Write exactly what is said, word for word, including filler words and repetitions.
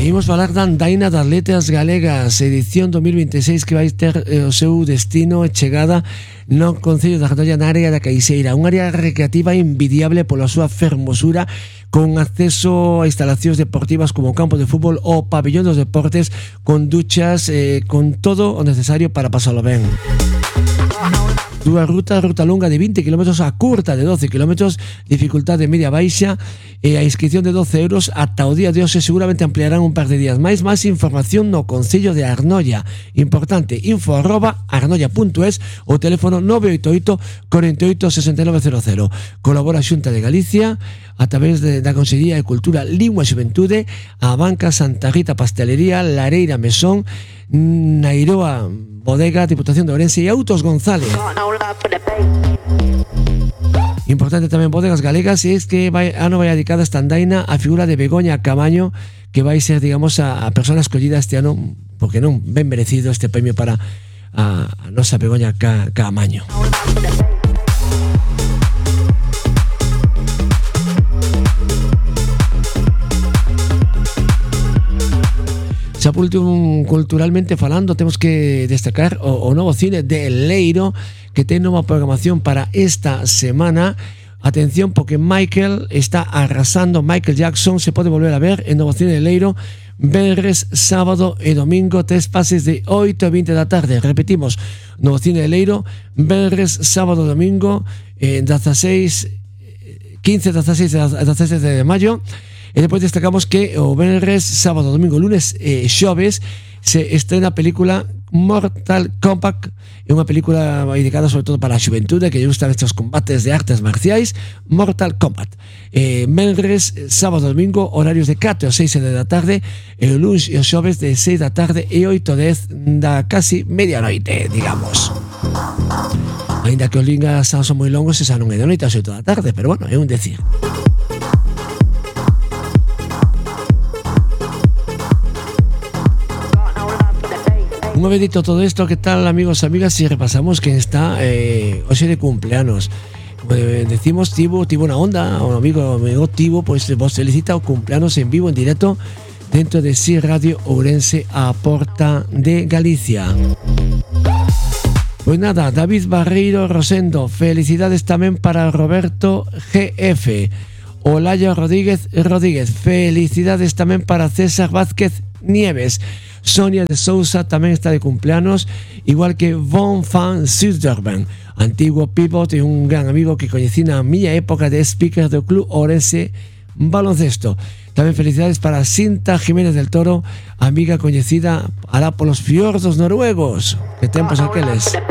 imos falar da andaina das letras galegas, edición dos mil veintiséis, que vai ter eh, o seu destino e chegada no Concello da Gatolla, na área da Caixeira, unha área recreativa envidiable pola súa fermosura, con acceso a instalacións deportivas como o campo de fútbol ou pabellón dos deportes, con duchas, eh, con todo o necesario para pasalo ben. Dúa ruta, ruta longa de vinte kilómetros a curta de doce kilómetros, dificultade media baixa, e a inscripción de doce euros ata o día de hoxe. Seguramente ampliarán un par de días máis. Máis información no Concello de Arnoia. Importante, info arroba arnoia punto es, o teléfono nove oito oito, cuatro oito, seis nove cero cero. Colabora a Xunta de Galicia a través de, da Consellería de Cultura, Lingua e Xuventude, a Banca Santa Rita Pastelería, Lareira Mesón, Nairoa Bodega, Diputación de Ourense e Autos González. Importante tamén Bodegas Galegas, e es que vai, ano vai dedicada esta andaina a figura de Begoña Camaño, que vai ser, digamos, a, a persona escollida este ano, porque non ben merecido este premio para a, a nosa Begoña Ca, Camaño. Xa por último, culturalmente falando, temos que destacar o, o novo cine de Leiro, que ten nova programación para esta semana. Atención, porque Michael está arrasando. Michael Jackson se pode volver a ver en novo cine de Leiro venres, sábado e domingo, tres pases de oito a vinte da tarde. Repetimos, novo cine de Leiro venres, sábado e domingo, eh, dieciséis, quince, dieciséis e diecisiete de maio. E depois destacamos que o venres, sábado, domingo, lunes e xoves se estrena a película Mortal Kombat. É unha película dedicada sobre todo para a xuventude que lle gustan estes combates de artes marciais. Mortal Kombat. Eh, venres, sábado, domingo, horarios de catro a seis da tarde, e o lunes e o xoves de seis da tarde e oito a dez da casi medianoite, digamos. Ainda que os lingas son moi longos, esa non é de noite a oito da tarde, pero bueno, é un decir. Unha vez dito todo isto, que tal, amigos e amigas, si repasamos quen está eh, hoxe de cumpleanos? Como decimos, Tibo, Tibo na onda, o amigo, amigo Tibo, pois pues, vos felicita o cumpleanos en vivo, en directo, dentro de Si Radio Ourense, a porta de Galicia. Pois nada, David Barreiro Rosendo, felicidades tamén para Roberto G F. Olaya Rodríguez Rodríguez, felicidades tamén para César Vázquez Nieves. Sonia de Sousa tamén está de cumpleanos, igual que Von Van Zuiderben, antiguo pivot e un gran amigo que coñecí na miña época de speaker do Club Ourense Baloncesto. Tamén felicidades para Cinta Jiménez del Toro, amiga coñecida alá polos fiordos noruegos. Que tempos aqueles.